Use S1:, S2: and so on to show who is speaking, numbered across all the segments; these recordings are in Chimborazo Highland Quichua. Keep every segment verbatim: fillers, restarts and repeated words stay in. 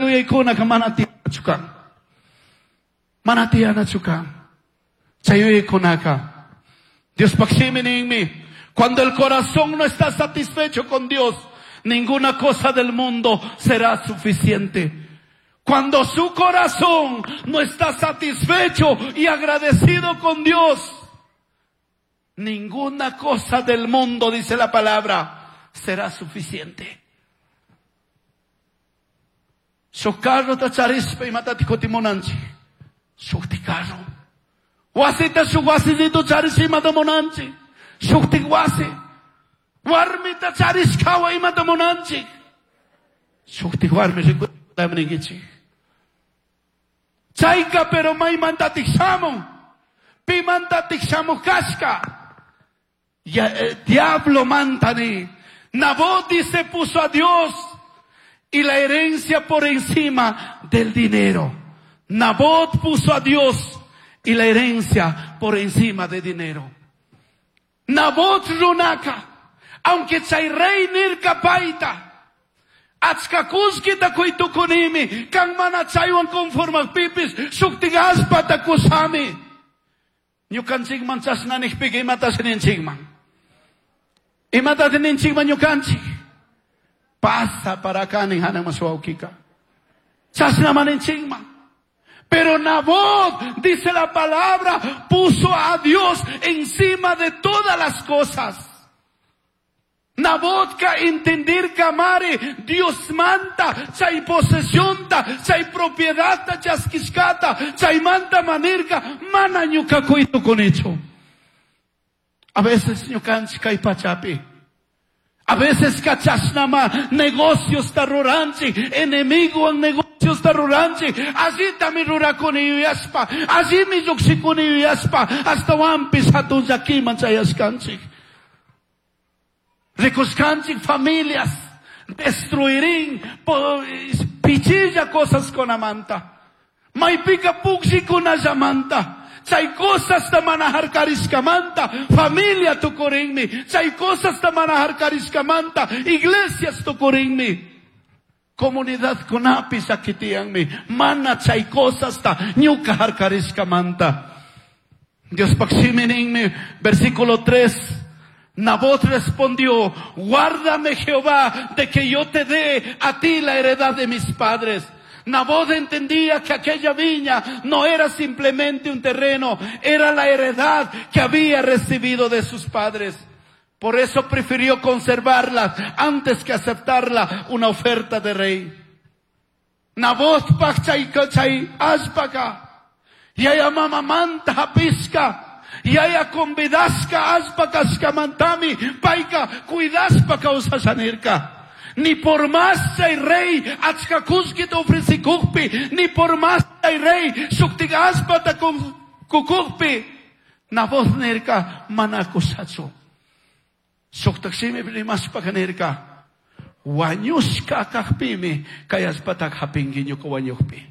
S1: Chay mana tiyanachu kan. Mana tiyanachu kan. Chay yuyaykunaka. Diospaj shimi ninmi. Cuando el corazón no está satisfecho con Dios, ninguna cosa del mundo será suficiente. Cuando su corazón no está satisfecho y agradecido con Dios, ninguna cosa del mundo, dice la palabra, será suficiente. Shuj carrota charishpa imatatik kutimunanchik. Shukti carro. Wasita shuk wasillito charishpa imata munanchik. Shuktik wasi. Warmita charishkawa imata munanchik. Shuktik warmi rikuyninkichik. Chayka pero maymantatik shamun. Pimantatik shamuj kashka. Ya, eh, diablo mantani. Nabot se puso a Dios y la herencia por encima del dinero. Nabot puso a Dios y la herencia por encima de dinero. Nabot runaka, aunque chay rey nirka paita, achka kullkita kuytukunimi, kan mana chaywan conformajpipis, shuktik allpata kushami. Ñukanchikman chashna nijpika imatashi ninchikman. Imatashi ninchikman ñukanchik. Pasa para acá nin hanakman wawkika. Chashnama ninchikman. Pero Nabot, dice la palabra, puso a Dios encima de todas las cosas. Nabotka entendirka mari, Dios manta, chay posesionta, chay propiedadta chaskishkata, chaymanta manirka, mana ñuka kuytukunichu. A veces ñukanchik kay pachapi. A veces kachashnama negocios ruranchik, enemigo en negocios ruranchik, allitami rurakuni yuyashpa, allimi llukshikuni yuyashpa, ashtawanpish hatun llakiman chayashkanchik. Rikushkanchik familias destruirin pichilla cosas kunamanta. Maypika pukllikunallamanta. Chay cosas ta mana harkarishkamanta, familia tukurinmi. Chay cosas ta mana harkarishkamanta, iglesias tukurinmi. Comunidad kunapi llakitiyanmi. Mana chay cosas ta ñuka harkarishkamanta. Diospaj shimi ninmi, versículo tres. Nabot respondió, guárdame Jehová de que yo te dé a ti la heredad de mis padres. Nabot entendía que aquella viña no era simplemente un terreno, era la heredad que había recibido de sus padres. Por eso prefirió conservarla antes que aceptarla una oferta de rey. Nabot paj chay chay allpaka, yaya mamamanta hapishka, yaya convidashka allpa kashkamantami, payka cuidashpa kawsasha nirka. Ni por más chay rey achka kullkita ofrecikukpi, ni por más chay rey shuktik allpata kukukpi, Nabot nirka mana kushachu. Shuktak shimipi rimashpaka nirka, wañushka kajpimi kay allpataka hapinki ñuka wañukpi.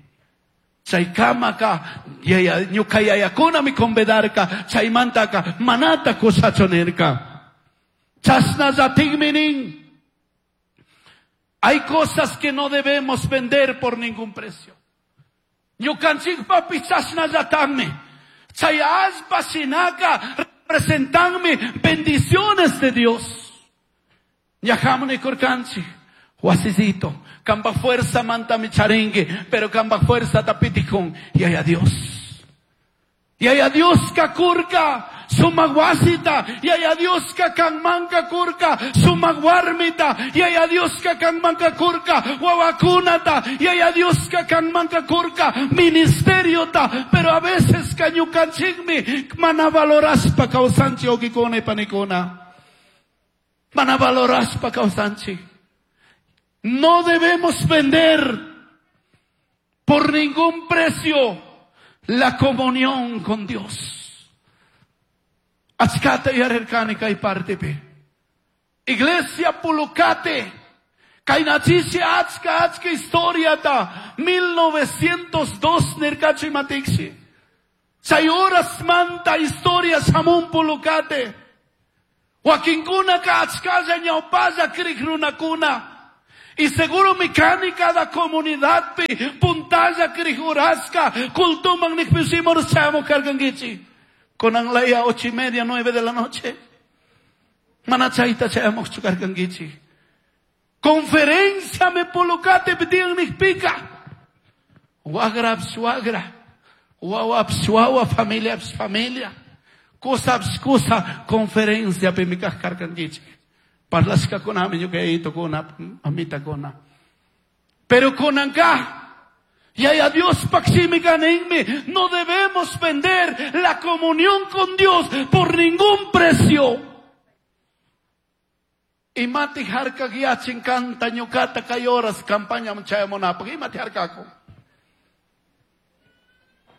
S1: Chaykamaka yaya ñuka yayakunami convidarka, chaymantaka manata kushachu nirka. Chashnallatikmi nin. Hay cosas que no debemos vender por ningún precio. Ñukanchikpapish chashnallatakmi. Chay allpa shinaka representanmi bendiciones de Dios. Ñahamuni kurkanchik, wasisito, kamba fuerza mantami charingi, pero kamba fuerza tapitikun, yaya Dios. Yaya Dios kakurka, sumak wasita, yaya Dios kanmanka kurka, sumak warmita, yaya Dios kanmanka kurka, wawakunata, yaya Dios kanmanka kurka, ministeriota, pero a veces ñukanchikmi, mana valorashpa kawsanchik wawkikuna y panikuna. Mana valorashpa kawsanchik. No debemos vender por ningún precio la comunión con Dios. Achkata yarirkani kay partepi. Iglesia Pulucate. Kaynachisha achka achka historia ta. mil novecientos dos nirkachi matiksi. Chay horas manta historia shamun Pulucate. Wakinkuna ka achkalla ñawpalla krik runakuna. Y seguro mi cani cada comunidad pi puntalla krijurasca cultuman nikpisimor chamo kargangichi. Konan laya ocho y media, nueve de la noche. Manachayta chayamuqchu kargangichi. Conferencia me polocate pitian nikpika. Wagra wagra. Wawa wawa familia familia. Cosa cosa conferencia pe mi kargangichi. Parlasca con ami ñuqayito kuna amita kuna. Pero kunanka y a Dios paximi kaninmi, no debemos vender la comunión con Dios por ningún precio. Imati harka guiachin canta ñuqata kay horas campaña chayamunapaq imati harkako.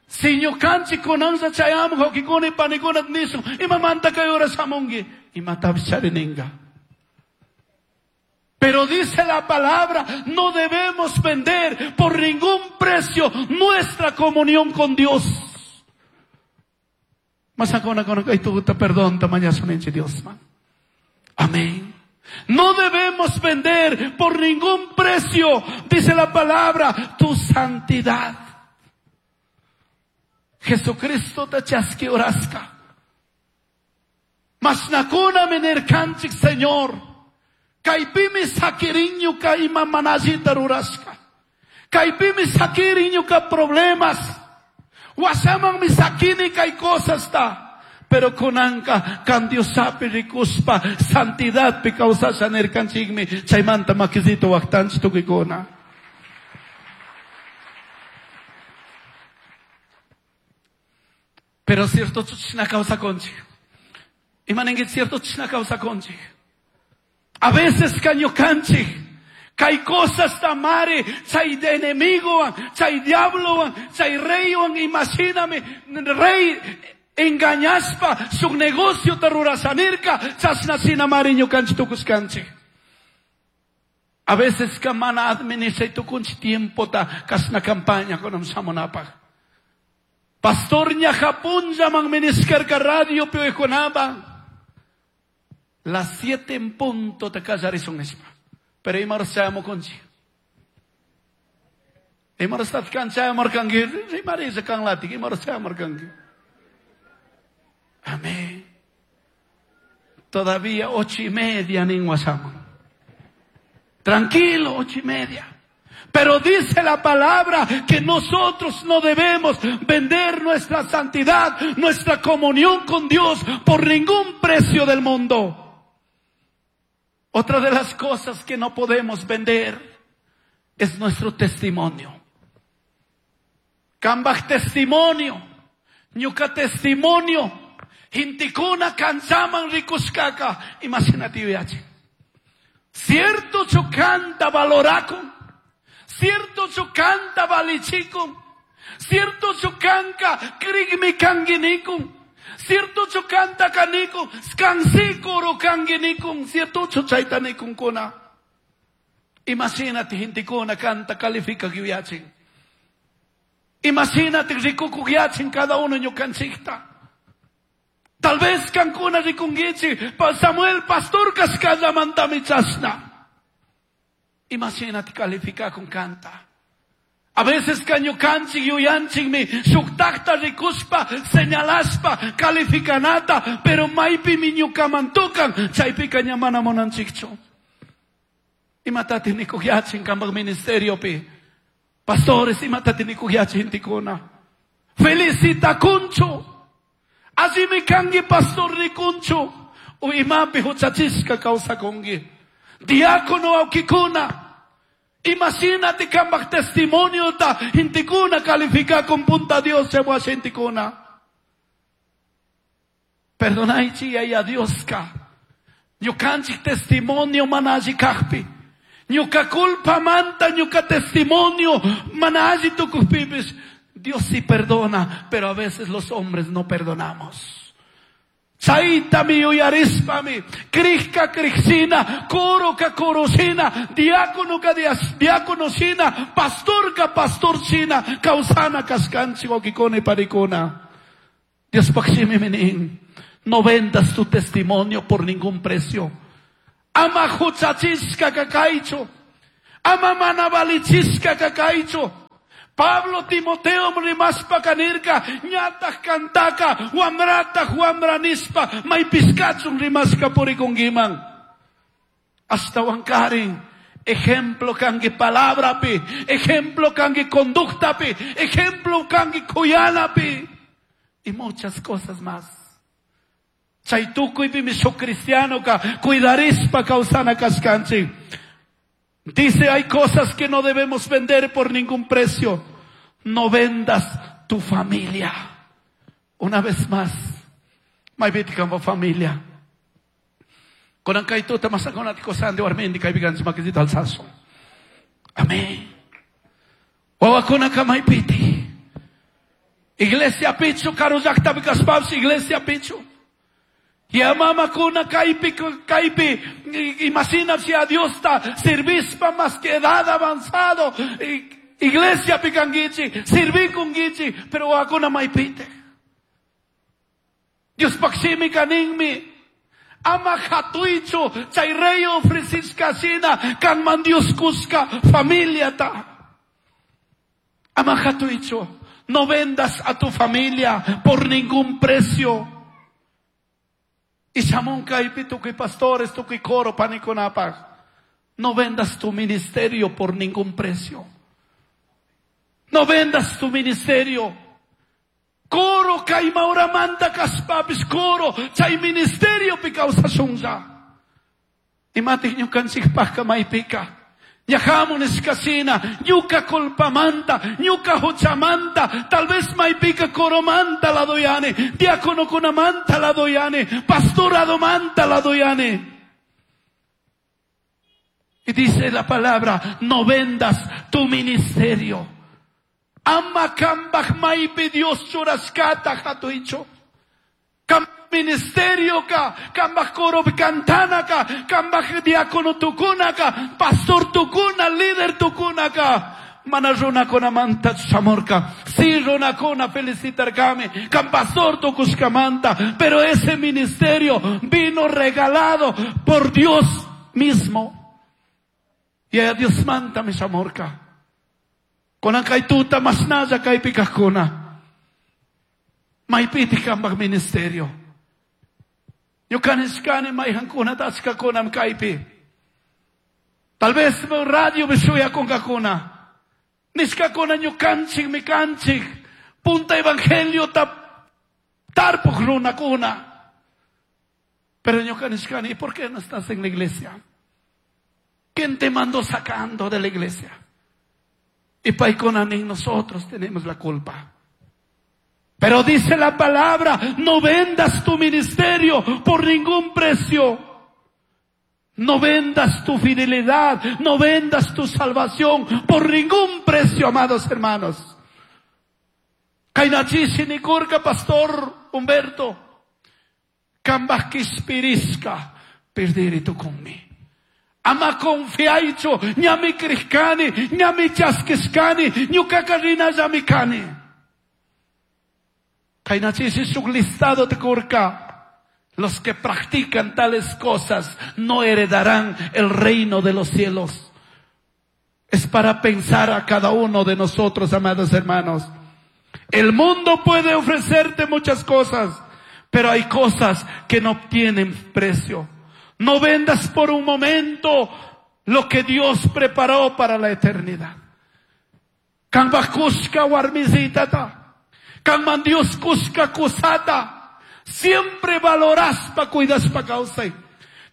S1: Si ñuqanchik kunanlla chayamuq wawqikuna panikuna nisun imamanta kay horas hamunki imatapish charininka. Pero dice la palabra, no debemos vender por ningún precio nuestra comunión con Dios. Perdón, Dios. Amén. No debemos vender por ningún precio, dice la palabra, tu santidad. Jesucristo te chaski orasca. Masnakuna menerkanchik, Señor. Kaypimi sakiriñuka ima manallita rurashka. Kaypimi sakiriñuka problemas. Wasamanmi sakini kay cosas ta. Pero kunanka kan Diosapi rikuspa santidadpi kawsasha nirkanchikmi chaymanta makisito waqtanchik tukuykuna. Pero cierto chishna kawsakunchik. Imaninki cierto chishna kawsakunchik. A veces kañukanchik, kay cosas tamare, chay de enemigo, chay diablo, chay rey, imagíname, rey engañaspa, su negocio terrurasanirka, chasnasina mari ñukanchik tukuskanchik. A veces kamana administra tukunchi tiempo ta kasna campaña con samonapaj. Pastor ña Japón llaman miniskarka radio pioejonaba. Las siete en punto te callarizon espa. Pero imar chayamo conchi. Imar stat kan chayamar kangi. Imar isa kan latik. Imar chayamar kangi. Amén. Todavía ocho y media nin wasama. Tranquilo, ocho y media. Pero dice la palabra que nosotros no debemos vender nuestra santidad, nuestra comunión con Dios por ningún precio del mundo. Otra de las cosas que no podemos vender es nuestro testimonio. Kambaj testimonio, ñuka testimonio, hintikuna kanchaman rikushkaka, imagínate viaje. Cierto chukanta valorakun, cierto chukanta valichikun, cierto chukanka krigmi kanginikun. Cierto chukanta kanikun, skansikuru kanginikun, cierto chuchaytanikun kuna. Imagínate hintikuna kanta califica gyuyachin. Imagínate rikuku gyachin cada uno ñukanchikta. Tal vez kankuna rikungichi, Samuel pastor kaskalla chasna. Imagínate califica con kanta. A veces kañukanchik yuyanchikmi shuktakta rikuspa señalaspa calificanata, pero maypimi ñukamantukan chaypika ña mana munanchikchu. Imatati nikukyachin kanpak ministeriopi. Pastores imatati nikukyachin gentekuna. Felicitakunchu. Allimi kanki pastor rikunchu. U imapi huchachishka kawsakunki. Diácono awkikuna. Imagínate kambaj testimonio ta gentekuna califica con punta Dios se wa gentekuna. Perdonaichi a Dios ka. Ñukanchik testimonio mana alli kajpi. Ñuka culpa manta ñuka testimonio mana alli tukujpipis. Dios sí perdona, pero a veces los hombres no perdonamos. Chaytami yuyarispami, krishka krishina, koro ka korosina, diácono ka diácono sina, pastor ka pastor sina, kawsana kashkanchik wawkikuna y parikuna. Dios pakshimi minin, no vendas tu testimonio por ningún precio. Ama huchachishka kakaychu, Ama mana valichishka kakaychu. Pablo Timoteo rimaspa kanirka, ñataq kantaka, wamrataq wamranispa, maypiskachun rimaska purikunkiman. Ashtawankarin, ejemplo kanki palabrapi, ejemplo kanki conductapi, ejemplo kanki kuyanapi, y muchas cosas más. Chay tukuypimi shuk cristianoka cuidarispa kawsana kashkanchik. Dice, hay cosas que no debemos vender por ningún precio. No vendas tu familia. Una vez más, maypiti como familia. Kunan kay tuta masakunati kosandi warmindi kaibigan makizita alzazo. Amén. Wawakunaka maypiti. Iglesia pichu, karu llaqtapi kashpapis iglesia pichu. Ya mamakuna kaypi kaypi imagina si a Dios está servispa más que edad avanzado. Iglesia pikankichi, sirvikunkichi, pero wawakuna maypite. Dios pakshimi kaninmi. Ama hatuichu, chay rey ofrecishka shina, kanman Dios kuska familiata. Ama hatuichu, no vendas a tu familia por ningún precio. Y shamun kaypi tukuy pastores, tukuy coro panikunapaj. No vendas tu ministerio por ningún precio. No vendas tu ministerio. Coro kaymauramanta kaspapis coro chay ministerio pikawsashunlla. Imatik ñukanchikpajka maypika. Ñajamun nishkashina, ñuka culpamanta, ñuka huchamanta, tal vez maypika coromanta la doyane, diáconokunamanta la doyane, pastoradomanta la doyane. Y dice la palabra, no vendas tu ministerio. Ama kambaj maypi Dios churashkata hatuicho. Kam ministerio ka, kambaj coro kantana ka, kambaj diácono tukuna ka, pastor tukuna, líder tukuna ka. Mana runakunamanta shamurka. Sí, runakuna felicitarkami, kam pastor tukushkamanta, pero ese ministerio vino regalado por Dios mismo. Y a Dios manta mi shamurka. Kunan kay tuta masnalla kaypi kajkuna. Maypiti kambaj ministerio. Ñuka nishkani mayqankunata achkakunam kaypi. Tal vez radio shuyakunkakuna. Nishkakuna ñukanchik mikanchik. Punta evangelio ta tarpuj runakuna. Pero ñuka nishkani, ¿y por qué no estás en la iglesia? ¿Quién te mandó sacando de la iglesia? Y paykunanin nosotros tenemos la culpa. Pero dice la palabra, no vendas tu ministerio por ningún precio. No vendas tu fidelidad, no vendas tu salvación por ningún precio, amados hermanos. Kaynachisi nikurka, pastor Humberto. Kambaj kishpiriska, perdiri tukunmi. Ama confiaicho, ñami crishkani, ñami chaskishkani, ñukaka rinallami kani. Kaynachisi shuk listado de kurka. Los que practican tales cosas no heredarán el reino de los cielos. Es para pensar a cada uno de nosotros, amados hermanos. El mundo puede ofrecerte muchas cosas, pero hay cosas que no tienen precio. No vendas por un momento lo que Dios preparó para la eternidad. Kambaj kushka warmisitata. Kanman Dios kushka kusata. Siempre valoraspa cuidaspa kawsay.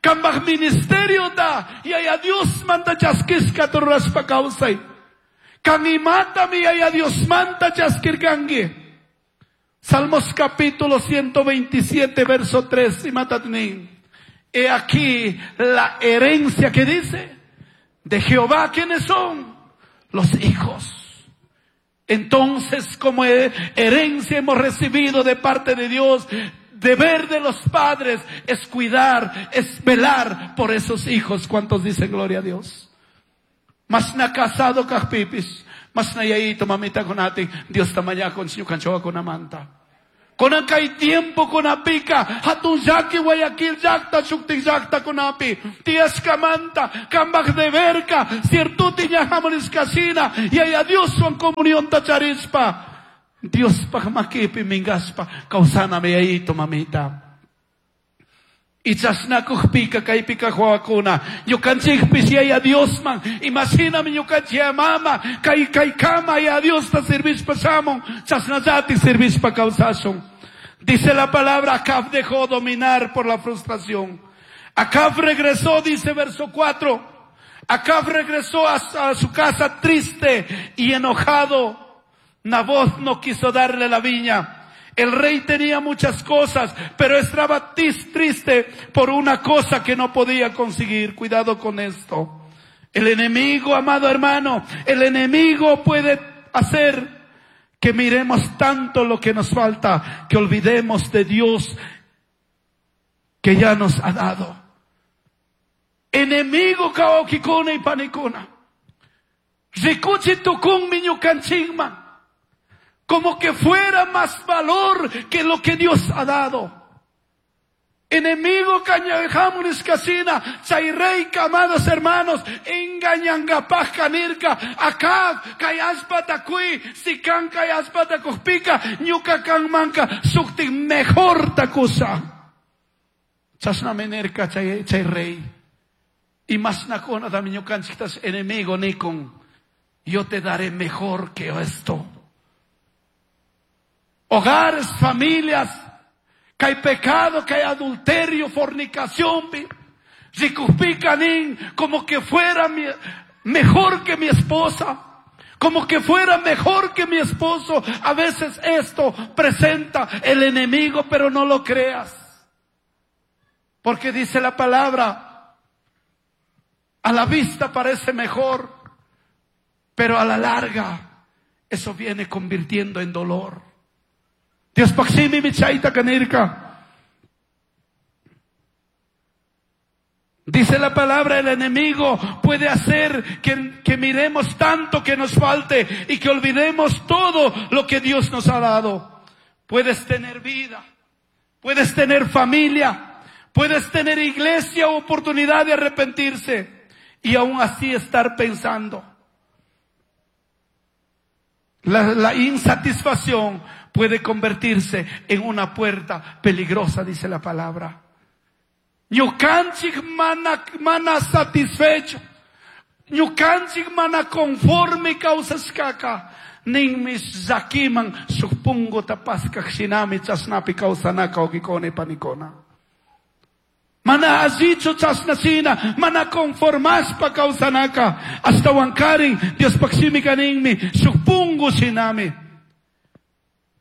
S1: Kambaj ministerio da yaya Dios manta chaskishka turraspa kawsay. Kan imata mi yaya Dios manta chaskirkanki. Salmos capítulo ciento veintisiete verso tres imatatnin. He aquí la herencia que dice de Jehová, ¿quiénes son? Los hijos. Entonces, como herencia hemos recibido de parte de Dios, deber de los padres es cuidar, es velar por esos hijos. ¿Cuántos dicen gloria a Dios? Mas na casado kajpipis, mas na yaito mamita kunati, Dios tamaña con ñukanchoa kunamanta. Kunan kay tiempo kunapika hatun llaki Guayaquil llakta shuktik llaktakunapi tiyashkamanta kambaj deberka ciertuti ña hamurishkashina yaya Dioswan comunionta charishpa Diospaj makipi minkashpa kawsanami yayito mamita. Y chashnakujpika kaypika wawakuna ñukanchikpish yaya Diosman imashinami ñukanchik yaya mama kay kaykama yaya Diosta servishpa shamun chashnallatik servishpa kawsashun. Dice la palabra, Acab dejó dominar por la frustración. Acab regresó, dice verso cuatro. Acab regresó a, a su casa triste y enojado. Nabot no quiso darle la viña. El rey tenía muchas cosas, pero estaba triste por una cosa que no podía conseguir. Cuidado con esto. El enemigo, amado hermano, el enemigo puede hacer que miremos tanto lo que nos falta, que olvidemos de Dios que ya nos ha dado. Enemigo kaokikuna y panikuna. Rikuchi tukun miñukanchikman. Como que fuera más valor que lo que Dios ha dado. Enemigo cañajamuris casina, chayrey, amados hermanos, engañangapaj kanirka, Acab, kayaspatakui, sikan kayaspatakujpika, ñuka kanmanka, sukti mejor takusa. Chasnamenerka chay, chay rey. Y más nakona dami ñukanchiktas enemigo nikon, yo te daré mejor que esto. Hogares, familias, que hay pecado, que hay adulterio, fornicación, ricupikanin, como que fuera mi, mejor que mi esposa, como que fuera mejor que mi esposo. A veces esto presenta el enemigo, pero no lo creas. Porque dice la palabra, a la vista parece mejor, pero a la larga eso viene convirtiendo en dolor. Dios paksimi michaita kanirka. Dice la palabra, el enemigo puede hacer que, que miremos tanto que nos falte y que olvidemos todo lo que Dios nos ha dado. Puedes tener vida, puedes tener familia, puedes tener iglesia o oportunidad de arrepentirse y aún así estar pensando. La, la insatisfacción puede convertirse en una puerta peligrosa, dice la palabra. Ñukanchik mana, mana satisfecho. Ñukanchik mana conforme kawsashkaka. Ninmi llakiman shuk punguta paskaj shinami chashnapi kawsanaka wawqikuna y panikuna. Mana allichu chashnashina, mana conformashpa kawsanaka. Ashtawankarin Diospaj shimika ninmi shuk pungu shinami.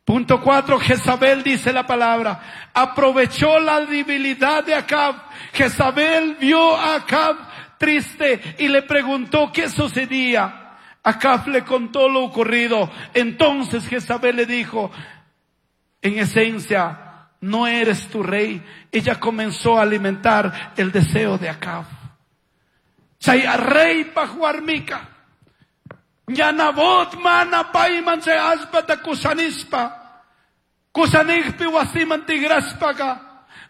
S1: Punto cuatro, Jezabel, dice la palabra, aprovechó la debilidad de Acab. Jezabel vio a Acab triste y le preguntó qué sucedía. Acab le contó lo ocurrido. Entonces Jezabel le dijo, en esencia, no eres tu rey. Ella comenzó a alimentar el deseo de Acab. Chay rey pajuarmica. Ñanabot mana payman chay allpata kusanishpa. Kusanijpi wasiman tigrashpaka.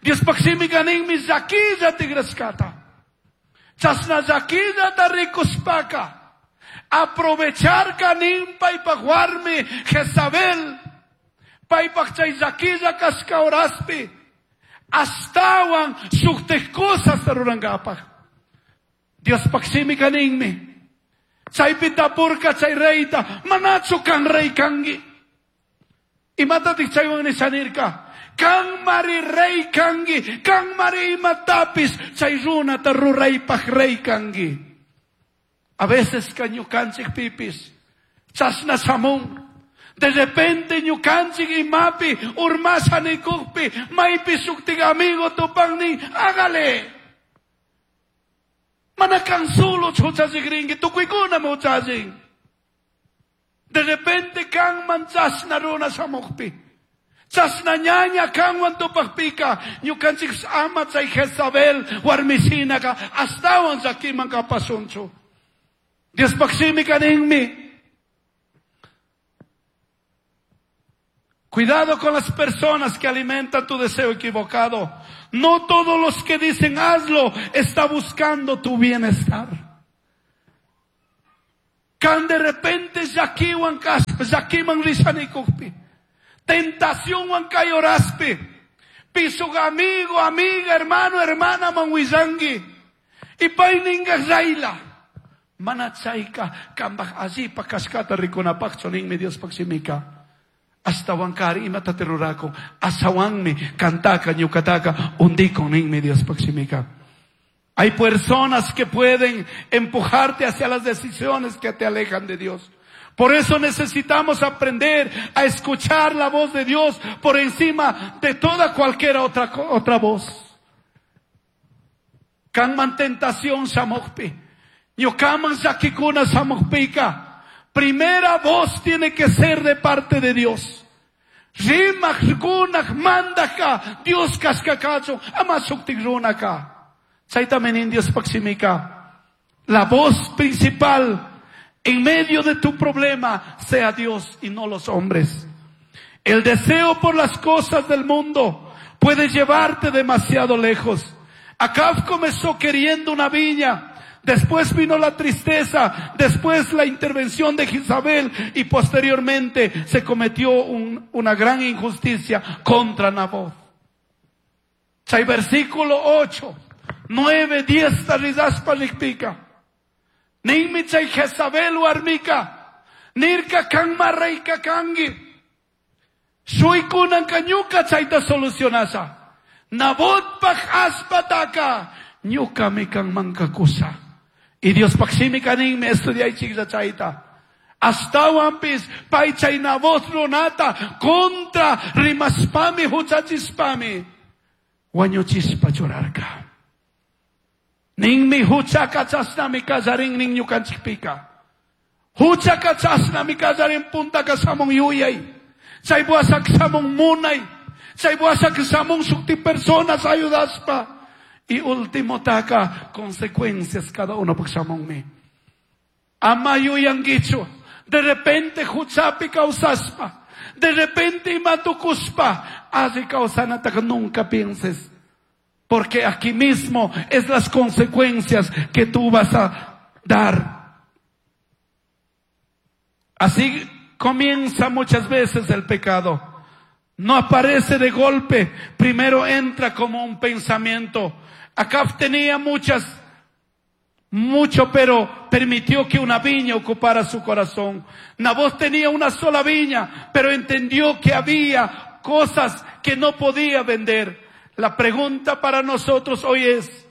S1: Diospaj shimika ninmi llakilla tigrashkata. Chashna llakillata rikushpaka. Aprovechar kanin paypaj warmi Jezabel. Paypaj chay llakilla kashka horaspi. Ashtawan shuktik cosas rurankapaj. Diospaj shimika ninmi. Chaypi tapurka chay reyta, manachu kan rey kangi. Imatatik chaywan nishanirka, kan mari rey kangi, kan mari imatapis, chay runata ruraypaj rey kangi. A veces ka ñukanchik pipis, chashna shamun. De repente ñukanchik imapi, urmasha nikukpi, maypi shuktik amigo tupangnin, hágale. Mana kan solo huchachikrinki, tukuykuna huchachin. De repente kanman chashna runa shamukpi. Chashna ñaña kanwan tupakpika, ñukanchik ama chay Jezabel warmishinaka ashtawan llakiman kapashunchu. Diospaj shimika ninmi. Cuidado con las personas que alimentan tu deseo equivocado. No todos los que dicen hazlo está buscando tu bienestar. Can de repente llakiwan kaspa, llakiman rishanikukpi, tentación wan kayoraspi, pisug amigo, amiga, hermano, hermana man willangi, y payninga rayla. Mana chayka kambaj allipa kashkata rikunapaqchu ninmi Diospaq shimika. Ashtawankari imata rurakun, ashawanmi kantaka ñuqataka undikun ninmi Diospaq shimika. Hay personas que pueden empujarte hacia las decisiones que te alejan de Dios. Por eso necesitamos aprender a escuchar la voz de Dios por encima de toda cualquier otra, otra voz. Kanman tentación shamuqpi, ñuqaman llakikuna shamuqpika. Primera voz tiene que ser de parte de Dios. Rimaq runaq mandajka Dios kashkakachu ama shuktik runaka. Chaytami nin Diospaq shimika. La voz principal en medio de tu problema sea Dios y no los hombres. El deseo por las cosas del mundo puede llevarte demasiado lejos. Acab comenzó queriendo una viña. Después vino la tristeza, después la intervención de Jezabel y posteriormente se cometió un, una gran injusticia contra Nabot. Chay versículo ocho, nueve, diez, taridaspa rikpika. Ninmi chay Jezabel warmika, nirka kanma reyka kangi. Shuykunan ñuka chayta solucionasha. Nabotpaj allpataka ñukami kanmanka kusha. Y Diospaq shimika ninmi estudiaychiklla chayta. Ashtawanpis pay chay Nabot runata contra rimashpami huchachispami wañuchishpa churarka. Ninmi huchaka chashnami kallarin nin ñukanchikpika. Huchaka chashnami kallarin puntaka shamun yuyay. Chay washaka shamun munay. Chay washaka shamun shukti personas ayudaspa. Y último taka consecuencias cada uno shamunmi. Ama yuyankichu. De repente huchapi kawsaspa. De repente imatukuspa. Alli kawsanataka nunca pienses. Porque aquí mismo es las consecuencias que tú vas a dar. Así comienza muchas veces el pecado. No aparece de golpe. Primero entra como un pensamiento. Acab tenía muchas, mucho, pero permitió que una viña ocupara su corazón. Nabot tenía una sola viña, pero entendió que había cosas que no podía vender. La pregunta para nosotros hoy es,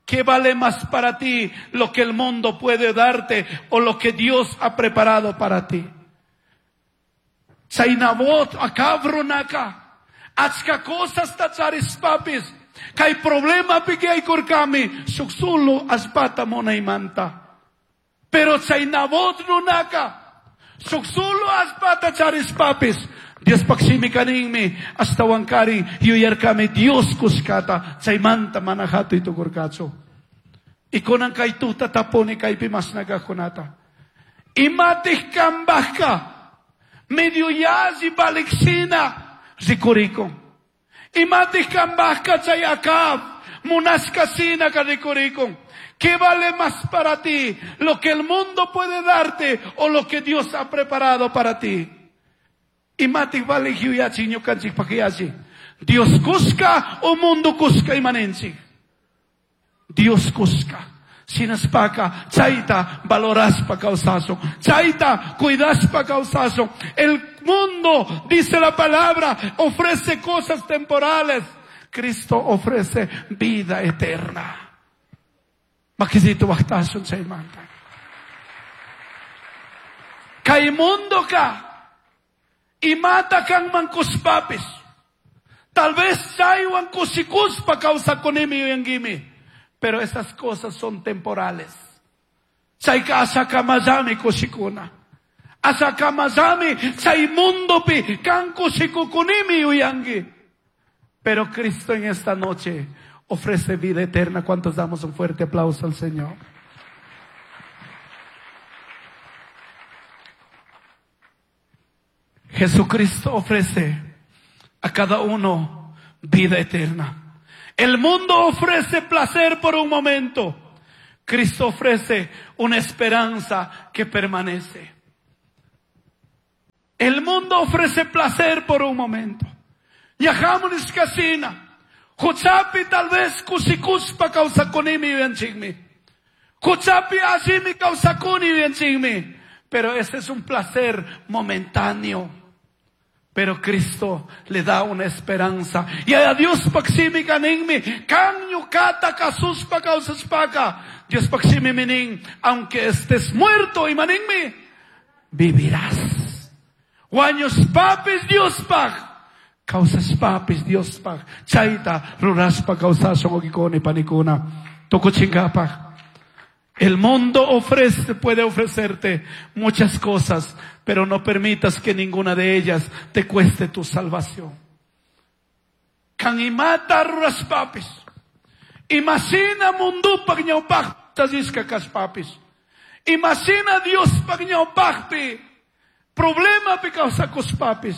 S1: ¿qué vale más para ti? ¿Lo que el mundo puede darte o lo que Dios ha preparado para ti? Chay Nabot, Acab runaka, achka cosas tacharispapis, kay problema pigaykurkami, shuk solo allpata munaymanta. Pero chay Nabot runaka, shuk solo allpata charispapis, Diospaq shimika ninmi, ashtawankari yuyarkami Dios kushkata, chaymanta mana hatuy tukurkachu. Y kunan kay tuta tapuni kaypi mashna kajkunata. Imatij kambajka, medio yalli valikshina rikurikun. Imatij kambajka chay Acab, munashka shinaka rikurikun. ¿Qué vale más para ti? ¿Lo que el mundo puede darte o lo que Dios ha preparado para ti? Imatij vale yuyachi ñukanchikpaq yachi. Dios kushka o mundo kushka imanenchik. Dios kushka. Shinaspaka chayta valoraspa kawsashun. Chayta cuidaspa kawsashun. El mundo, dice la palabra, ofrece cosas temporales. Cristo ofrece vida eterna. Makisito waqtashun chaymanta. Kay mundo ka. Imata kanman kushpapis. Tal vez chaywan kushikuspa kawsakunimi yuyankimi. Pero esas cosas son temporales. Chayka ashakamallami kushikuna. Ashakamallami chay mundopi kan kushikukunimi yuyanki. Pero Cristo en esta noche ofrece vida eterna. ¿Cuántos damos un fuerte aplauso al Señor? Jesucristo ofrece a cada uno vida eterna. El mundo ofrece placer por un momento. Cristo ofrece una esperanza que permanece. El mundo ofrece placer por un momento. Yahamunis kasina. Huchapi tal vez kusikuspa kawsakunimi yuyanchikmi. Huchapi asimi kawsakuni yuyanchikmi. Pero ese es un placer momentáneo. Pero Cristo le da una esperanza. Y a Dios paksimi kaninmi. Kan ñukata kasuspa kawsaspaka. Dios paksimi minin. Aunque estés muerto y maninmi, vivirás. Wañus papis Dios pak. Causas papis Dios pak. Chaita ruraspa causasong okikoni panikuna. Tukuchingapaj. El mundo ofrece, puede ofrecerte muchas cosas, pero no permitas que ninguna de ellas te cueste tu salvación. Kan imata ruraspapis. Imagina mundupak ñawpaj tazisca kaspapis. Imagina Dios pak ñawpajpi. Problema pi kawsakuspapis.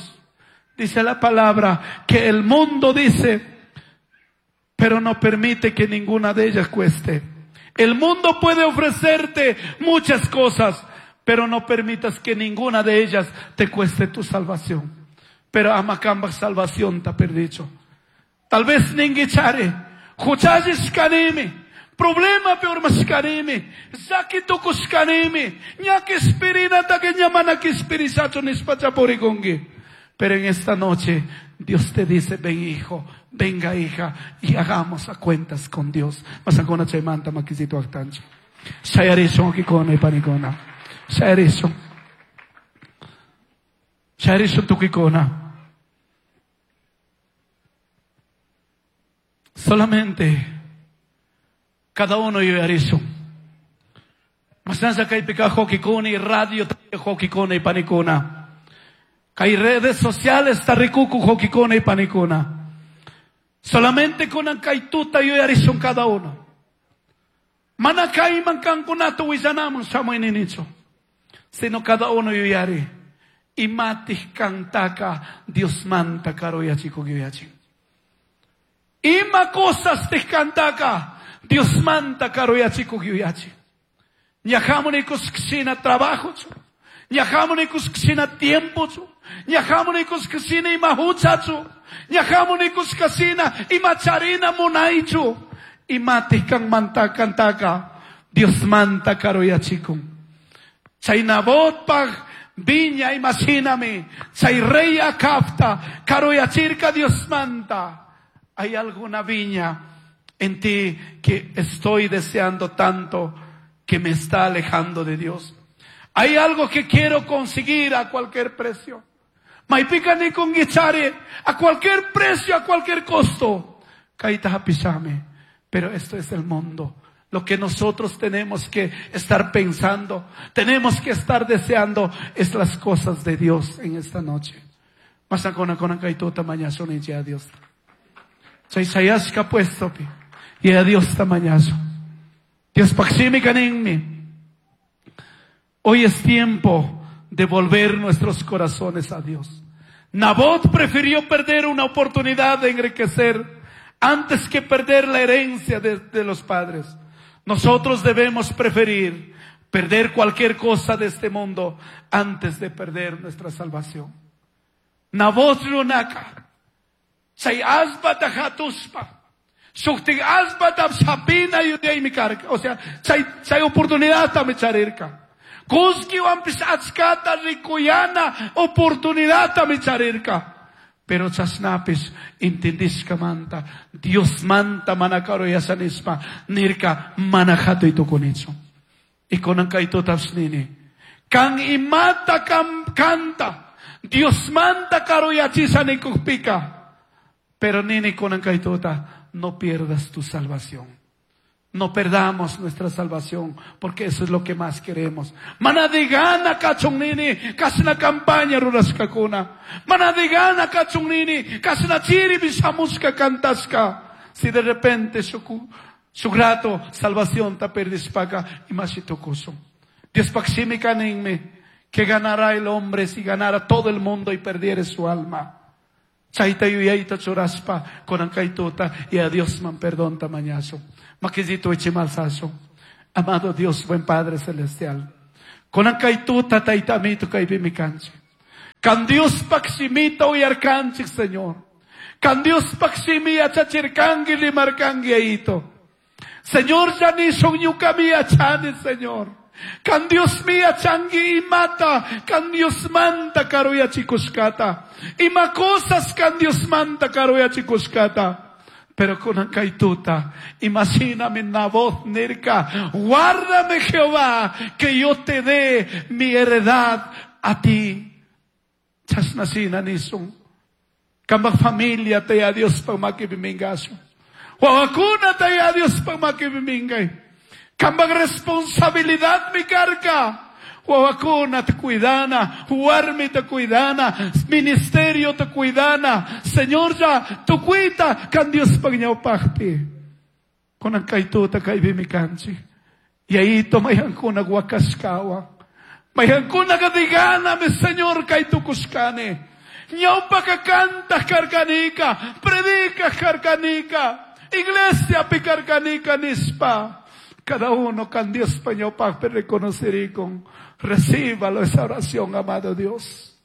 S1: Dice la palabra que el mundo dice, pero no permite que ninguna de ellas cueste. El mundo puede ofrecerte muchas cosas, pero no permitas que ninguna de ellas te cueste tu salvación. Pero amakamba salvación ta perdicho. Tal vez ninguichare, huchayis kanimi, problema peor mas kanimi, zaki tukus kanimi, ñaki spirina ta que ñamana ki spirisacho nispachapurikungi. Pero en esta noche Dios te dice, ven hijo, venga hija, y hagamos a cuentas con Dios. Masakona chaymanta makisito aktancha. Shayarishon kikona y panikona. Shayarishon. Shayarishon tukikona. Solamente cada uno yuyarishon. Masansa kaypika hokikuni, radio hokikona y panikona. Kay redes sociales tarikuku hokikona y panikona. Solamente kunan kay tuta yuyarishon cada uno. Mana kayman kankunata willanaman shamuyninichu. Sino cada uno yuyari. Imatij kantaka Dios manta karuyachikuk yuyachin. Ima cosas tij kantaka Dios manta karuyachikuk yuyachin. Ñajamunikus ksina trabajochu. Ñajamunikus ksina tiempochu. Ñajamunikus ksina ima huchachu. Ñajamunikus kasina ima charina munaychu. Imatij kan manta kantaka Dios manta karuyachikun. Chay Nabotpaj viña imagíname. Chay rey Acabta karuyachirka Dios manta. Hay alguna viña en ti que estoy deseando tanto que me está alejando de Dios. Hay algo que quiero conseguir a cualquier precio. Maipika ni con guichare, a cualquier precio, a cualquier costo. Kaita hapisame. Pero esto es el mundo. Lo que nosotros tenemos que estar pensando, tenemos que estar deseando, es las cosas de Dios en esta noche. Masakona kona kaituta mañaso ni ya Dios. Chay sayashka puesto pi. Y a Dios tamañaso. Dios paximi kaninmi. Hoy es tiempo de volver nuestros corazones a Dios. Nabot prefirió perder una oportunidad de enriquecer antes que perder la herencia de, de los padres. Nosotros debemos preferir perder cualquier cosa de este mundo antes de perder nuestra salvación. Nabot runaka. Chay asba tajatuspa. Shukti asba tapsapina yudaymikarka. O sea, chay, chay oportunidad tamicharirka. Kuski wampis achkata rikuyana oportunidad tamicharirka. Pero chasnapis intendishka manta. Dios manta manakaro yasanispa. Nirka manajato itukunichu. Y konan kaito tapsnini. Kan imata kam kanta. Dios manta karo yachisa nikukpika. Pero nini konan kaitota, no pierdas tu salvación. No perdamos nuestra salvación, porque eso es lo que más queremos. Manadigana kachun nini, kasna campaña ruraskakuna. Manadigana kachun nini, kasna chiri bisamuska kantaska. Si de repente su, su grato salvación ta perdispaka y masitokuso. Dios paximi kaninme, que ganará el hombre si ganara todo el mundo y perdiere su alma. Chayta yuyayta churaspa kunan kay tuta y a Dios man perdonta mañashun. Makillito ichimalsashun. Amado Dios, buen Padre Celestial. Kunan kay tuta tayta amito kaypimi kanchik. Kan Dios shimita uyarkanchik, Señor. Kan Dios shimi yachachirkanki rimarkanki ayito. Señor, ya nishun ñukami yachani, Señor. Kan Dios mi yachanki imata, kan Dios manta karuyachikushkata. Ima cosas kan Dios manta karuyachikushkata. Pero kunan kay tuta, imagíname Nabot nirka, guárdame Jehová, que yo te dé mi heredad a ti. Chashna shina nishun. Kambaj familia te a Dios pa makipimingashu. Wawakuna te a Dios pa makipimingay. Kambaj responsabilidad mi karka. Wawakuna te cuidana, warmi te cuidana, ministerio te cuidana. Señor ya, tu cuida, kan Dios pagñawpajpi. Kunan kay tuta kaypimi kanchik. Y ahí mayqankuna wakashkawan. Mayqankuna digana mi Señor kay tukushkani. Ñawpaka kantaq karkanika, predicaj karkanika, iglesia pi karkanika nispa. Cada uno kan Dios pa ñawpajpi reconocerikun. Recíbalo esa oración, amado Dios.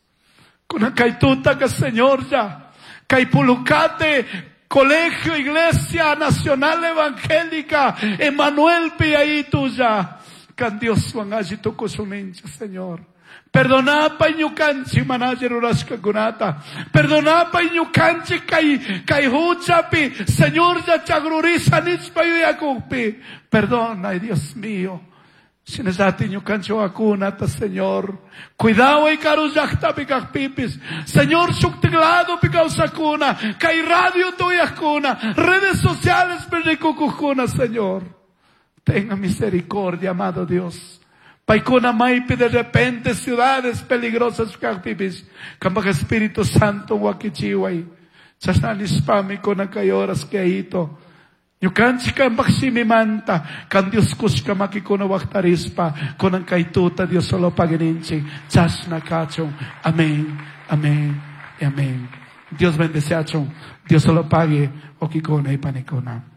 S1: Kunan kay tuta que Señor ya. Kay pulukate, Colegio Iglesia Nacional Evangélica, Emanuel pi tuya. Kan Dios wan alli tukushunchik, Señor. Perdonapay ñukanchik mana alli rurashkakunata. Perdonapay ñukanchik kay, kay huchapi. Señor ya chagrurisha nishpa yuyakukpi. Perdona, Dios mío. Shinallati ñukanchik wawakunata, Señor. Cuidado y karu llaqtapi kaqpipis. Señor, shuktik ladopi kawsakuna. Kay radio tuyakuna. Redes sociales rikukukuna, Señor. Tenga misericordia, amado Dios. Paykuna maypi de repente ciudades peligrosas kaqpipis. Kambaj Espíritu Santo wakichiway. Chashna nishpami kunan kay horas que ahito. Ñukanchik kambaj shimimanta, kan Dios kushka makikuna waqtarispa, kunan kay tuta Dios solo paguininchik, chashna kachun. Amén, amén, y amén. Dios bendeciachun. Dios solo pague, okikuna y panikuna.